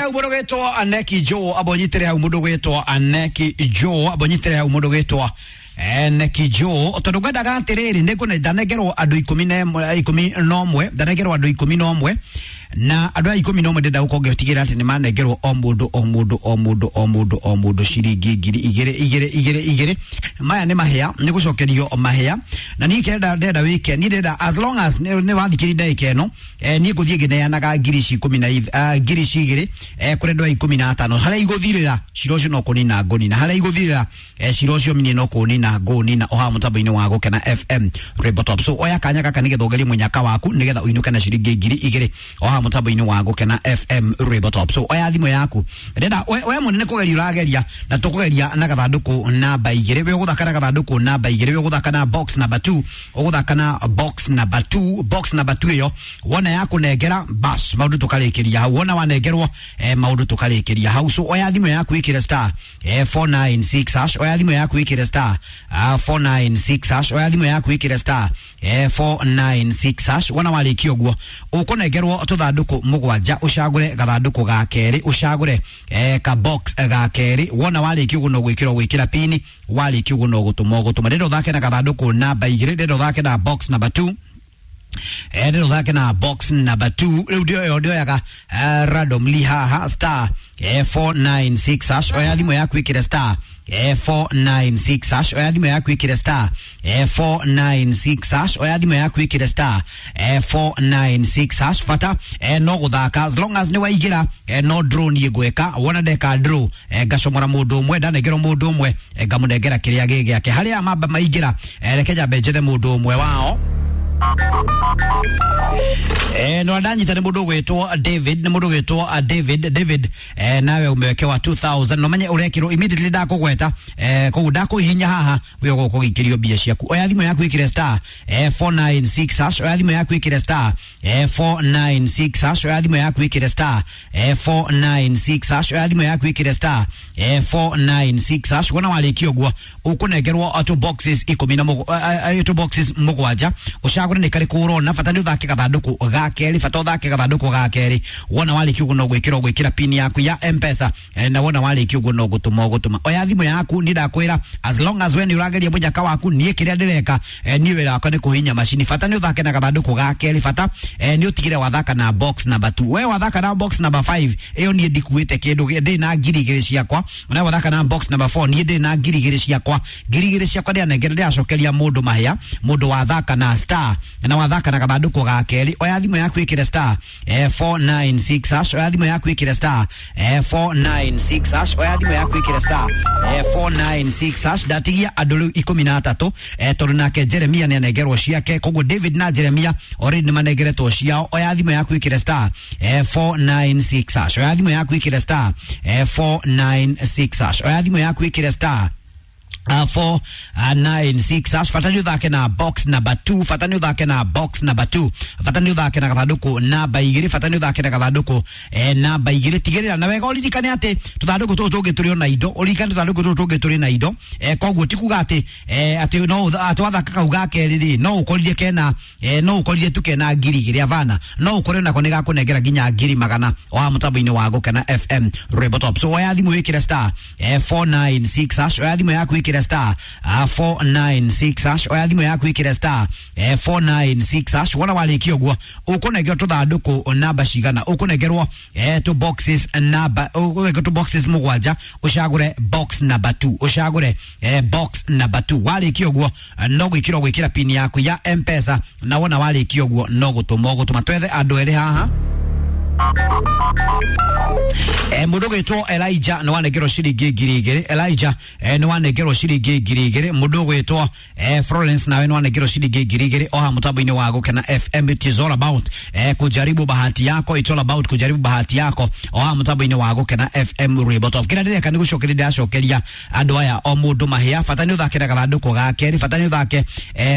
hau mũndũ gwĩtwo Aneki Joe, amba ũnyitĩre hau mũndũ gwĩtwo Aneki Joe, amba ũnyitĩre hau mũndũ gwĩtwo Neki Joe, tondũ ngwendaga atĩrĩrĩ, nĩngũne ndanengerwo andũ 11, ndanengerwo andũ 11, na andũ aya 11 ndĩrenda gũkorwo ngĩtigĩrĩra atĩ nĩmanengerwo o mũndũ o mũndũ o mũndũ o mũndũ o mũndũ ciringi ngiri igĩrĩ igĩrĩ igĩrĩ igĩrĩ. Maya nĩ mahĩa, nĩ gũcokerio mahĩa, na niĩ kĩrĩa ndĩrenda wĩke, niĩ ndĩrenda as long as nĩ wathikĩrĩria ndagĩka ĩno, niĩ ngũthiĩ ngĩneanaga ngiri ici ikũmi na ngiri ici igĩrĩ, kũrĩ andũ aya 15, harĩa igũthirĩra cira ũcio no kũnina ngũnina, harĩa igũthirĩra, cira ũcio niĩ no kũnina ngũnina, o haha mũtambo-inĩ wa Gũkena FM Rainbow Top. So oya kanya gaka nĩgetha ũgerie mũnyaka waku, nĩgetha ũinũke na ciringi ngiri igĩrĩ o haha mũtambo-inĩ wa Gũkena FM Rainbow Top. So oya thimũ yaku, ndĩrenda we mũnene kũgeria ũrageria, na tũkũgeria na gathandũkũ namba igĩrĩ, we ũgũthaka na gathandũkũ namba igĩrĩ, we ũgũthaka na box number 2, ũgũthaka na box number 2, box number 2 ĩyo wona yakũnengera bas, maũndũ tũkarĩkĩria hau, wona wanengerwo, maũndũ tũkarĩkĩria hau. So oya thimũ yaku ĩkĩre star 496 hash, oya thimũ yaku ĩkĩre star 496 hash, oya thimũ yaku ĩkĩre star 496 hash. Wona warĩkia ũguo ũkũnengerwo tũthandũkũ mũgwanja, ũcagũre gathandũkũ ga kerĩ, ũcagũre ka box ga kerĩ. Wona warĩkia ũguo no gwĩkĩra ũgwĩkĩra pini, warĩkia ũguo no gũtũma ũgũtũma. Ndĩrenda ũthake na gathandũkũ namba igĩrĩ, ndĩrenda ũthake na box number 2, ndĩrenda ũthake na box number 2. Rĩu ndĩoyo ndĩoyaga randomly haha star 496 hash, oya thimũ yaku ĩkĩre star 496 hash, oya thimũ yaku ĩkĩre star 496 hash, oya thimũ yaku ĩkĩre star 496 hash. Bata no gũthaka, as long as nĩ waingĩra, no draw niĩ ngwĩka, wona ndeka draw, ngacomora mũndũ ũmwe, ndanengerwo mũndũ ũmwe, ngamũnengera kĩrĩa gĩ gĩake. Harĩa mamba maingĩra, reke nyambe njethe mũndũ ũmwe wao. No ndanyita nĩ mũndũ ũgwĩtwo David, nĩ mũndũ ũgwĩtwo David. David, nawe umewekewa 2000, no menye ũrekĩrwo immediately ndakũgweta, koguo ndakũhihinya haha we ũgũkorwo ũgĩikĩrio mbia ciaku. Oya thimũ yaku ĩkĩre star 496 hash, oya thimũ yaku ĩkĩre star 496 hash, oya thimũ yaku ĩkĩre star 496 hash, oya thimũ yaku ĩkĩre star 496 hash. Wona warĩkia ũguo ũkũnengerwo two boxes ikũmi na two boxes mũgwanja, ũcagũre nĩ karĩkũ ũrona. Bata nĩ ũthake gathandũkũ ga kerĩ, bata ũthake gathandũkũ ga kerĩ. Wona warĩkia ũguo no gwĩkĩra ũgwĩkĩra pin yaku ya M-Pesa, na wona warĩkia ũguo no gũtũma ũgũtũma. Oya thimũ yaku, niĩ ndakwĩra as long as we nĩ ũrageria mũnyaka waku, niĩ kĩrĩa ndĩreka, niĩ wĩra wakwa nĩ kũhihinya macini. Bata nĩ ũthake na gathandũkũ ga kerĩ, bata nĩ ũtigĩre wathaka na box number 2. We wathaka na box number 5 ĩyo niĩ ndikuĩte kĩndũ, ndĩ na ngiri igĩrĩ ciakwa. Na wathaka na box number 4 niĩ ndĩ na ngiri igĩrĩ ciakwa, ngiri igĩrĩ ciakwa ndĩranengera, ndĩracokeria mũndũ mahĩa, mũndũ wathaka na star na wathaka na gathandũkũ ga kerĩ. Oya thimũ yaku ĩkĩre star 496 hash, oya thimũ yaku ĩkĩre star 496 hash, oya thimũ yaku ĩkĩre star 496 hash. Ndatigia andũ rĩu 13, tondũ nake Jeremia nĩ anengerwo ciake, koguo David na Jeremia already nĩ manengeretwo ciao. Oya thimũ yaku ĩkĩre star 496 hash, oya thimũ yaku ĩkĩre star 496 hash, oya thimũ yaku ĩkĩre star 496 hash. Bata nĩ ũthake na box number 2, bata nĩ ũthake na box number 2, bata nĩ ũthake na gathandũkũ namba igĩrĩ, bata nĩ ũthake na gathandũkũ namba igĩrĩ. Tigĩrĩra na wega ũririkane atĩ tũthandũkũ tũtũ tũngĩ tũrĩ ona indo, ũririkane tũthandũkũ tũtũ tũngĩ tũrĩ na indo, koguo ti kuga atĩ atĩ no atĩ wathaka kau ga kerĩ rĩ, no ũkorire kena, no ũkorire tu kena ngiri igĩrĩ, avana no ũkore nako nĩ gakũnengera nginya ngiri magana o haha mũtambo-inĩ wa Gũkena FM Rainbow Top. So oya thimũ wĩkĩre star 496 hash, oya thimũ yaku ĩkĩre star 496 hash, oya thimũ yaku ĩkĩre star 496 hash. Wona warĩkia ũguo ũkũnengerwo tũthandũkũ namba cigana, ũkũnengerwo two boxes namba, ũkũnengerwo two boxes mũgwanja, ũcagũre box number 2, ũcagũre box number 2. Warĩkia ũguo no gwĩkĩra ũgwĩkĩra pin yaku ya M-Pesa, na wona warĩkia ũguo no gũtũma ũgũtũma. Twethe andũ erĩ haha. Mũndũ ũgwĩtwo Elijah nĩ wanengerwo ciringi ngiri igĩrĩ. Elijah, nĩ wanengerwo ciringi ngiri igĩrĩ. Mũndũ ũgwĩtwo Florence nawe nĩ wanengerwo ciringi ngiri igĩrĩ o haha mũtambo-inĩ wa Gũkena FM. It is all about kujaribu bahati yako, it's all about kujaribu bahati yako o haha mũtambo-inĩ wa Gũkena FM Rainbow Top. Kĩrĩa ndĩreka nĩ gũcokeria ndĩracokeria andũ aya o mũndũ mahĩa. Bata nĩ ũthake na gathandũkũ ga kerĩ, bata nĩ ũthake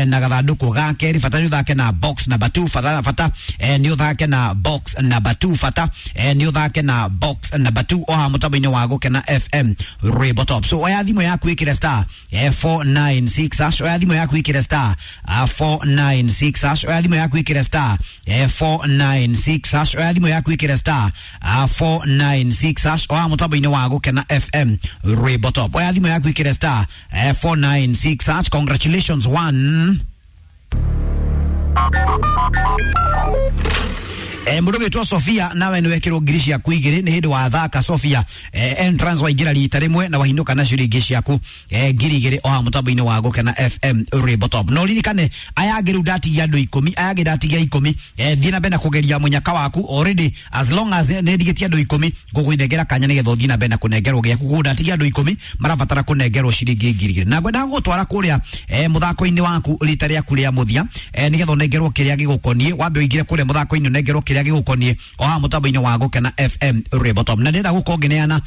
na gathandũkũ ga kerĩ, bata nĩ ũthake na box number 2, bata nĩ ũthake na box number 2, bata nĩ ũthake na box number number 2 oha mutambo-inĩ wa Gũkena FM Rwĩmbo Top. So oya thimũ yaku ĩkĩre star 496 hash, oya thimũ yaku ĩkĩre star 496 hash, oya thimũ yaku ĩkĩre star 496 hash, oya thimũ yaku ĩkĩre star 496 hash, oya mutambo-inĩ wa Gũkena FM Rwĩmbo Top. Oya thimũ yaku ĩkĩre star 496 hash. Congratulations one. Mũndũ ũgĩtwo Sofia nawe nĩ wekĩrwo ngiri ciaku igĩrĩ nĩ hĩndĩ wathaka Sofia entrance waingĩra rita rĩmwe na wahinũka na ciringi ciaku 2000 oha mũtambo-inĩ wa Gũkena FM Rwĩmbo Top. No ririkane aya angĩ rĩu ndatigia andũ 10, aya angĩ ndatigia 10. Thiĩ na mbere na kũgeria mũnyaka waku already, as long as nĩ ndigĩtie andũ 10 ngũkũnengera kanya nĩgetha ũthiĩ na mbere na kũnengerwo gĩaku. Koguo ndatigia andũ 10 marabatara kũnengerwo ciringi 2000 na ngwenda gũgũtwara kũrĩa mũthako-inĩ waku rita rĩaku rĩa mũthia nĩgetha ũnengerwo kĩrĩa gĩgũkoniĩ. Wambe ũingĩre kũrĩa mũthako-inĩ ũnengerwo kĩrĩa gĩgũkoniĩ oha mũtambo-inĩ wa Gũkena FM Rwĩmbo Top. Na ndĩrenda gũkorwo ngĩneana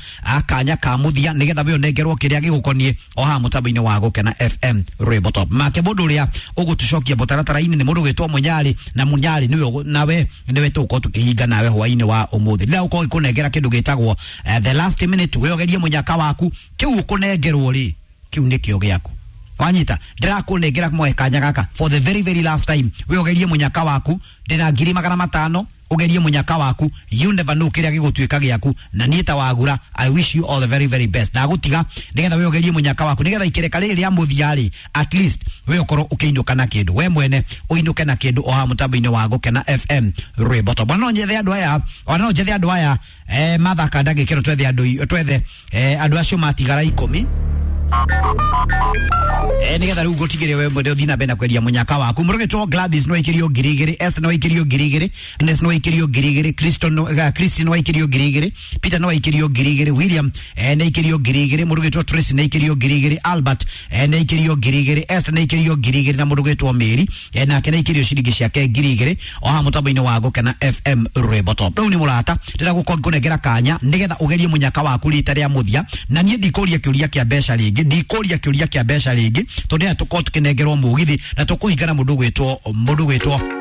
kanya ka mũthia nĩgetha we ũnengerwo kĩrĩa gĩgũkoniĩ oha mũtambo-inĩ wa Gũkena FM Rwĩmbo Top. Make mũndũ ũrĩa ũgũtũcokia mũtaratara-inĩ nĩ mũndũ ũgwĩtwo Mũnyarĩ, na Mũnyarĩ nĩwe nawe nĩwe tũgũkorwo tũkĩhinga nawe hwaĩ-inĩ wa ũmũthĩ. Ndĩrenda gũkorwo ngĩkũnengera kĩndũ gĩtagwo the last minute, we ũgerie mũnyaka waku kĩu ũkũnengerwo rĩ kĩu nĩkĩo gĩaku. Wanyita ndirakũnengera mwe kanya gaka for the very very last time, we ũgerie mũnyaka waku. Ndĩna 500,000, ũgerie mũnyaka waku, you never know kĩrĩa gĩgũtuĩka gĩaku. Na niĩ ta wagura, I wish you all the very very best. Ndagũtiga nĩgetha we ũgerie mũnyaka waku nĩgetha ikereka rĩrĩ rĩa mũthia rĩ at least we ũkorwo ũkĩinũka na kĩndũ, we mwene ũinũke na kĩndũ oha mũtambo-inĩ wa Gũkena FM Rwĩmbo Top. No nyethe andũ aya, ona no njethe andũ aya mathaka ndagĩka ĩno, twethe andũ, twethe andũ acio matigara 10 nigetha riu ngutigire we mwende uthii na mbere na kweria munyaka waku. Mũrũgĩtwo Gladys no aikirio 2000, Esther no aikirio 2000, Agnes no aikirio 2000, Christon no Christine no aikirio 2000, Peter no aikirio 2000, William nĩ aikirio 2000, mũrũgĩtwo Tracy nĩ aikirio 2000, Albert nĩ aikirio 2000, Esther nĩ aikirio 2000 na mũrũgĩtwo Mary nake nĩ aikirio ciringi ciake 2000 oha mũtambo-inĩ wa Gũkena FM Rwĩmbo Top. Rĩu nĩ mũrata ndĩrenda gũkorwo ngĩkũnengera kanya nĩgetha ũgerie mũnyaka waku rita rĩa mũthia, na niĩ ndikũria kĩũria kĩa mbeca rĩngĩ, ndikũria kĩũria kĩa mbeca rĩngĩ tondũ aya tũkorwo tũkĩnengerwo mũgithi na tũkũhingana mũndũ gwĩtwo